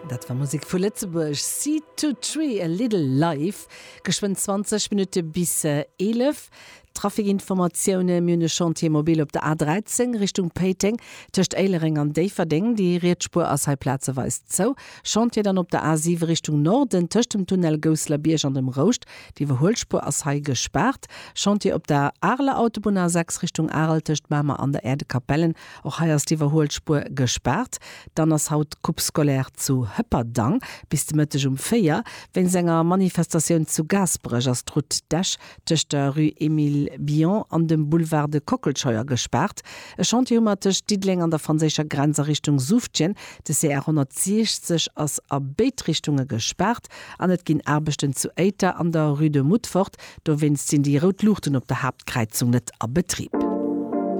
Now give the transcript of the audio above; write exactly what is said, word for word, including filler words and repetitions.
Dat war Musek vu Lëtzebuerg, Seed to Tree, A Little Life. Geschwënn zwanzeg Minutte bis eelef. Trafikinformatioune, Mir hunn e Chantier mobile op der A dräizéng Richtung Péiteng, tëscht Éilereng an Déifferdeng. Déi riets Spuer ass hei plazeweis zou. Chantier dann op der A siwe Richtung Norden, tëscht dem Tunnel Gousselerbierg an dem Rouscht. D'Iwwerhuelspuer ass hei gespaart. Chantier op der Areler Autobunn A sechs Richtung Arel, tëscht Mamer an der Aire de Capellen. Och hei ass d'Iwwerhuelspuer gespaart. Dann ass haut Coupe scolaire zu Hëpperdang bis de Mëtteg um véier. Wéinst enger Manifestatioun zu Gaasperech ass d'Route d'Esch tëscht der Rue Émile Billon an dem Boulevard de Kockelscheuer gespaart. E Chantier hu mer tëscht Diddeleng an der franséischer Grenz a Richtung Suuftgen. De C R honnertsiechzeg ass a béid Richtunge gespaart an et ginn Aarbechten zu Éiter an der Rue de Mutfort. Dowéinst sinn déi rout Luuchten op der Haaptkräizung net a Betrib.